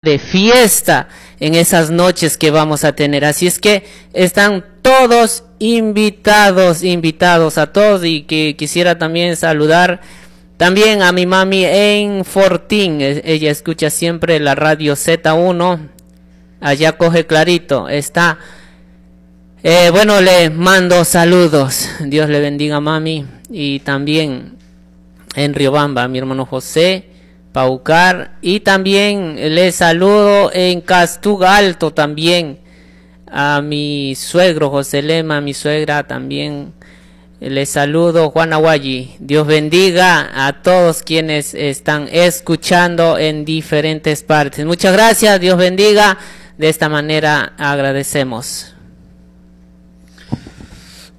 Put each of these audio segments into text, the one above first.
De fiesta en esas noches que vamos a tener. Así es que están todos invitados, invitados a todos, y que quisiera también saludar también a mi mami en Fortín. Ella escucha siempre la radio Z1. Allá coge clarito. Está. Bueno, le mando saludos. Dios le bendiga, mami. Y también en Riobamba, mi hermano José Paucar. Y también le saludo en Castuga Alto también a mi suegro José Lema, a mi suegra también le saludo, Juan Aguayi. Dios bendiga a todos quienes están escuchando en diferentes partes. Muchas gracias, Dios bendiga. De esta manera agradecemos.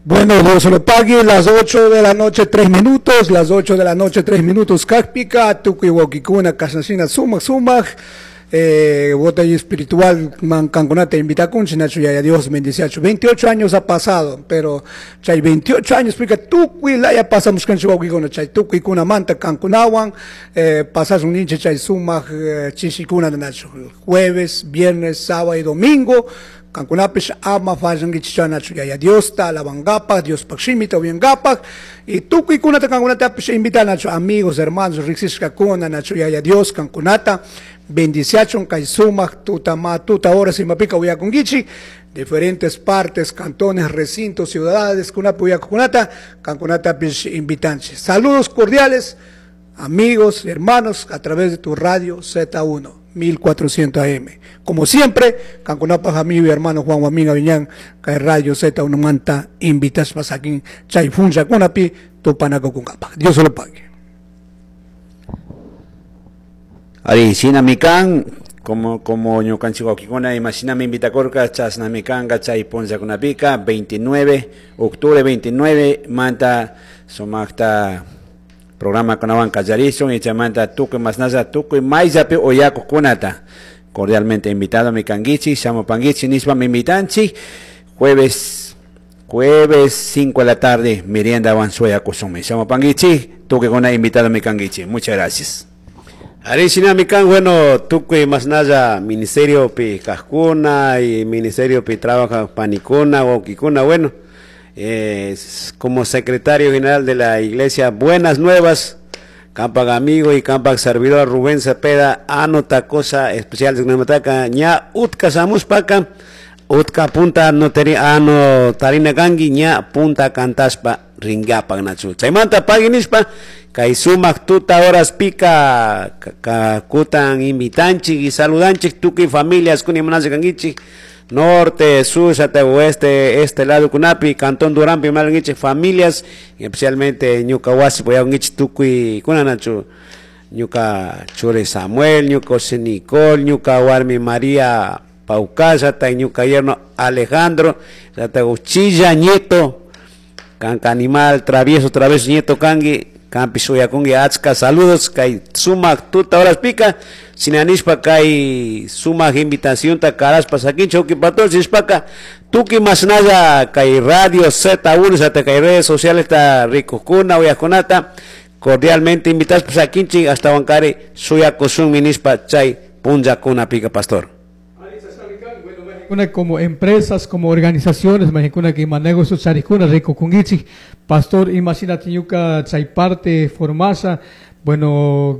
Bueno, Dios lo pague, las 8 de la noche, 3 minutos, las 8 de la noche, 3 minutos, kajpika, tukuy wawkikuna, kashnashina, sumak, sumak, botella espiritual, man, kankunata invitakunchik, nachu yaya Dios bendiciachu. 28 años ha pasado, pero chay 28 años, porque tukuy laya pasamos kanchik wawkikuna, chay tukuykuna manta kankunawan, pasasun ninchik chay sumak, chishikuna, nachu, jueves, viernes, sábado y domingo, kankunapish ama fallankichik nachu yaya Diosta alabangapak, Diospaj shimita uyangapak, y tukuykunata kankunatapish invitan nachu amigos, hermanos, riksishkakuna nachu yaya Dios kankunata bendiciachun kay sumak tuta ma tuta horas imapika uyakunkichik, diferentes partes, cantones, recintos, ciudades, kunapi uyakukunata kankunatapish invitanchik. Saludos cordiales, amigos, hermanos, a través de tu radio Z1. 1400 AM. Como siempre, kankunapaj amigo y hermano Juan Guamín Aviñán, kay Radio Z1 manta, invitas pasakin, chay funcha kunapi, tupanakukunkapaj. Dios se lo pague. Ari, sina mikan, como ñukanchik wawkikuna, imashina mi invitakorka, chasna mikanka, chay punlla kunapika, 29, octubre 29, manta sumakta programa kunawan kallarishun, y chaymanta tukuy masnalla, tukuy mayllapi uyakuqkunata. Cordialmente invitado mi kankichik, shamupankichik, nishpa mi invitanchik, jueves 5 de la tarde, merienda avanzueyakushunmi. Shamupankichik, tukuykuna invitado mi kankichik. Muchas gracias. Ari shinami kan, bueno, tukuy masnalla ministerio pi kajkuna y ministerio pi trabaja panikuna, wawkikuna, bueno, como secretario general de la iglesia Buenas Nuevas, kampak amigo y kampak servidor Rubén Cepeda, anota cosa especial de Gnamataca, ña utka samuspaka, utka punta noteri, ano tarina kangi, ña punta cantaspa ringapa nachu. Chaymanta paginispa, kay sumak tuta horas pica, ka kutan invitanchik y saludanchik tukuy familias kuni manase kangichik, norte, sur, hasta oeste, este lado kunapi, cantón Duranpi, malangichik familias, y especialmente ñuka wasi, voy a ungichik tukuy kunanachu, ñuka chure Samuel, ñuka José Nicole, ñuka warmi María Paucasa, hasta ñuka yerno Alejandro, hasta Uchilla nieto, kanka animal, travieso, travieso nieto kangi, kampi suyakungi achka saludos, kay sumak tuta horas pica, sinanispa kay sumak invitación ta karaspa sakincho uki patol sispaka, tuki masnaya kay radio Z1, hasta kay redes sociales ta rikukuna uyakunata, cordialmente invitas sakinchi hasta wankari suyakusun minispa chay punllakuna pica pastor. Una como empresas, como organizaciones, imagina que manejo sus charicuna, rico kungichi, pastor, imagínate ñuka chay parte formasa, bueno,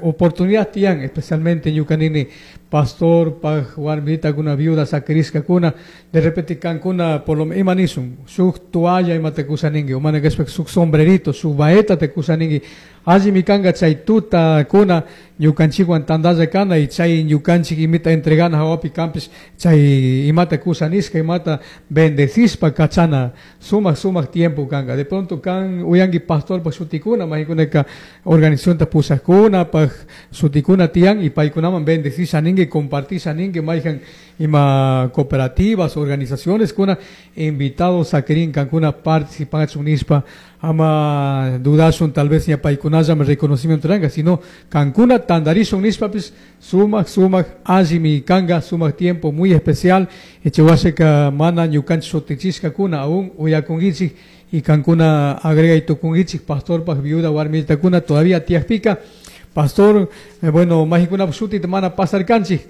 oportunidad tian, especialmente ñuka nini, pastor, pa jugar milita kuna viuda, sacriska kuna, de repente cancuna, por lo menos, imanisum, su toalla ima te kusaningi, o mana que su sombrerito, su baeta te kusaningi, allí mi kanga chay tuta kuna, ñukanchikwan tandalla kana, y chay ñukanchik imita entregana hawapi campis, chay imata kusanisca, imata bendecispa kachana, sumak, sumak tiempo kanga. De pronto kan uyangi pastor pa sutikuna, mahikuneka organización ta pusakuna, pa sutikuna tian, y paikunaman bendecisa ningue, compartisa ningue, maijan ima cooperativas, organizaciones kuna, invitados a querín cancuna participan unispa, ama dudasun tal vez ya paikunaya me reconocimiento ranga, sino cancuna tandarisun nispa pues, sumak, sumak, allí mi kanga, sumak tiempo muy especial, echehuaseka mana ñukanchik sotichisca kuna, aún uyakungichik, y cancuna agrega y tukungichik, pastor pa viuda warmita kuna, todavía tiaspica, Pastor, bueno, mayqinkunapuk shutita mana pasarkanchik.